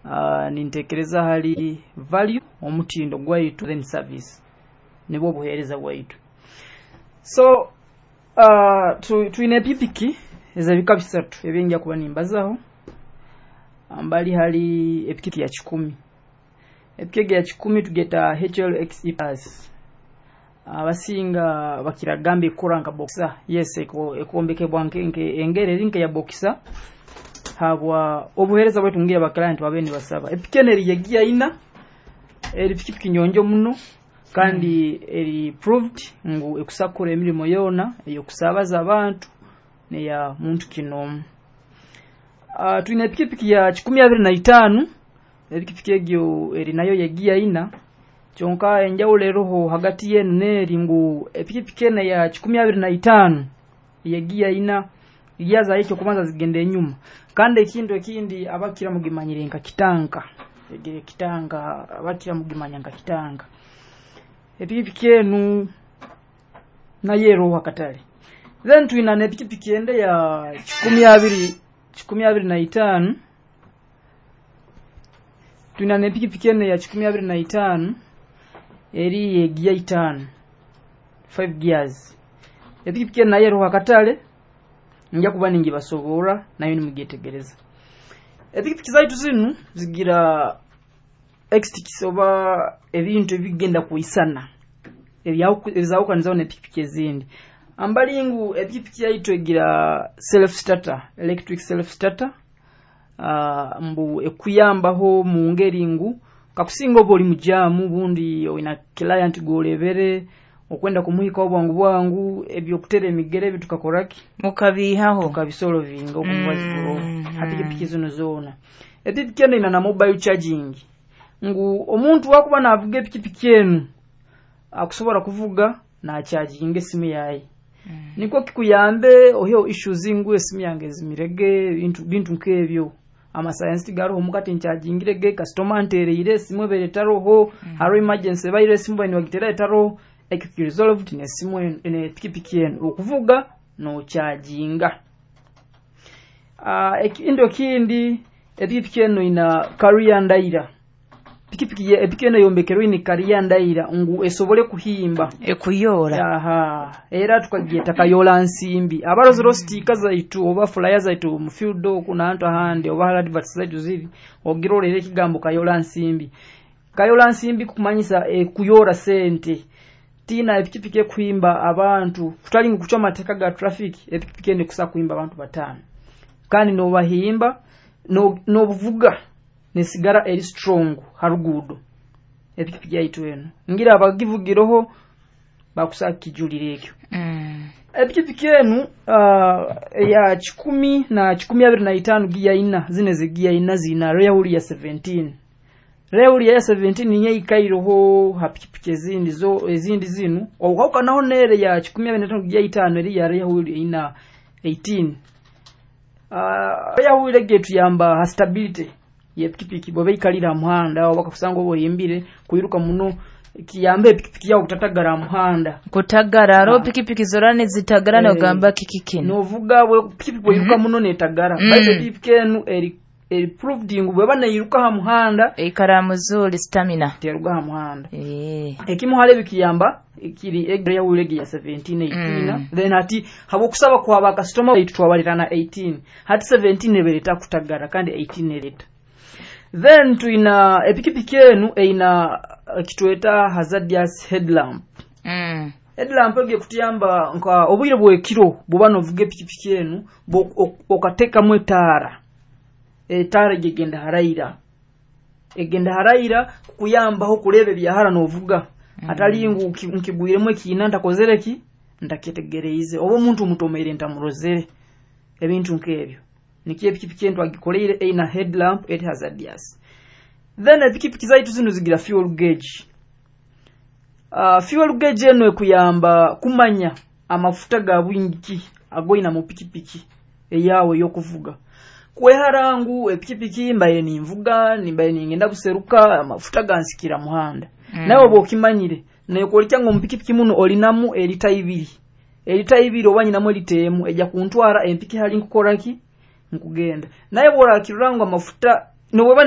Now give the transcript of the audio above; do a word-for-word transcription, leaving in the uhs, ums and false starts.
uh, nintekereza hali value, omutindo gwaitu, then service, nibwo obuheereza bwaitu. So uh, tu, twine epikipiki ez'ebika bisatu ebyenjya kuba nimbazaho. Ambali hali epikipiki ya kikumi. Epikipiki ya kikumi tugeta H L X Plus. Abasinga bakiragamba ekora nka Boxer. Yes, ekombekebwa nke engeri eri nke ya Boxer habwa obuheereza bwaitu ngira ba client babe nibasaba. Epiki eno eri yegiya ina, eri pikipiki nyonjo muno kandi eri proved ngu ekusakura emirimo yoona ey'okusabaza abantu neya muntu kinomu. uh, twine epikipiki ya kikumi abiri na itaano. Epikipiki egyo eri nayo yegiya ina, kyonka enjawulo eroho hagati yenu n'eri ngu epikipiki eno ya kikumi abiri na itaano yegiya ina, giya zayo ekyokubanza zigenda enyuma. Kandi ekintu ekindi, abakira mugimanyire nka kitanka. Egere kitanka, abakira mugimanya nka kitanka. Epikipiki enu nayo eroho akatale. Then twina n'epikipiki ende ya kikumi abiri kikumi abiri na itaano. Twina n'epikipiki eno ya kikumi abiri na itaano eri yegiya itaano, five gears. Epikipiki eno nayo eroho akatale, nja kuba ningibasoborra nayo nimugyetegereza. Epikipiki zaitu zinu zigira extics oba ebintu ebigenda kwisana ebizawukanizaho n'epikipiki ezindi. Ambali ngu epikipiki yaitu egira self starter, electric self starter, uh, mbu ekuyambaho mu ngeri ngu kakusinga oba oli mujamu, bundi oyina client gwolebere okwenda kumuhikaho bwangu bwangu, ebyokutera emigere ebi tukakoraki? Mukabiihaho. Tukabisolovinga okumwaziguroho. Mm, ha pikipiki zino zoona, epikipiki eno ina na mobile charging, ngu omuntu wakuba navuga epikipiki enu akusobola kuvuga nacharginga esimu yaye, Mm. nikwo kikuyambe oyo issues ngu esimu yange ezimirege, bintu bintu nk'ebyo. Amasayansi tigaroho mukati, nchargingirege customer ntereire esimu ebere etaroho, Mm. hariho emergency ebaire esimu baine bagitera etaroho. Ekyo ki resolved n'esimu eno, n'epikipiki eno, okuvuga nocharginga. uh, ekintu ekindi, epikipiki eno ina carrier ndaira. Pikipiki ye epiki eno yombekerwe ini carrier ndaira ngu esobole kuhimba. Ekuyoora. Aha, era tukagyeta Kayola Nsimbi. Abarozero sticker zaitu oba flyer zaitu mu field oku nantu ahandi oba adverts zaitu ziri, ogirorera ekigambo Kayola Nsimbi. Kayola Nsimbi kukumanyisa ekuyora sente. Tina epikipiki ekuhimba abantu, kutali ngu kucwa amateeka ga traffic. Epikipiki eno ekusa kuhimba abantu bataano kandi nobahimba nobuvuga no nesigara eri strong harugudo. Epikipiki yaitu eno ngira abagivugiroho bakusa kijulira ekyo. Mm. Epikipiki enu uh, ya kikumi na kikumi abiri na itaano giya ina, zine zigiya ina zina rear wheel ya seventeen. Rear wheel ya seventeen niyo ikairoho ha pikipiki ezindi zo ezindi zinu, okwawukanaho nere ya kikumi abiri na itaano giya itaano eri ya rear wheel ina eighteen. uh, rear wheel egi etuyamba ha stability yepikipiki bweba ikalira muhanda, oba kakusanga oba oyimbire kwiruka muno, kiyambe epikipiki yawe kutatagara muhanda. Kutagara aro Ah. pikipiki zora nizitagara. Eh, Nogamba kiki kino? Novuga bwe pikipiki bweyiruka Mhm. muno netagara. Mm. Baitu epikipiki enu eri eri proved ngu bweba neyiruka ha muhanda, Eikara muzuri, stamina. Teruga ha muhanda. Eh. Ekimu hali bikiyamba kiri egre ya wheel ya seventeen, eighteen. Mm. Then hati habwokusaba kwa ba customer baitu twabalirana eighteen, hati seventeen ebereta kutagara kandi eighteen ereta. Then tuina epikipiki enu eina eh, kitweta hazardous headlamp. Mm. Headlamp egyo kutuyamba nka obwire bwekiro bwoba novuga epikipiki enu, bo- ok- okateekamu etaara, etaara egyo egenda haraira, egenda haraira kukuyambaho kureeba ebyahara novuga, Mm. atali ngu nki- nkigwiremu ekiina ntakozere ki, ntakyetegereize, oba omuntu mutomeire ntamurozere, ebintu nk'ebyo. Nikyo epikipiki enu twagikoleire eina headlamp eri hazardous. Then epikipiki zaitu zino zigira fuel gauge. uh, fuel gauge eno ekuyamba kumanya amafuta ga bwingi agoina mu pikipiki eyawe ey'okuvuga, kwehara ngu epikipiki mbaire ninvuga, nimbaire ningenda buseruka, amafuta gansikira muhanda. Mm. Nawe oba okimanyire nekolekya ngu omupikipiki muno olinamu erita ibiri, erita ibiri oba nyinamu erita emu ejja kuntwara empiki hali nkukoraki nkugenda. Naye bworakirora ngu amafuta nobweba.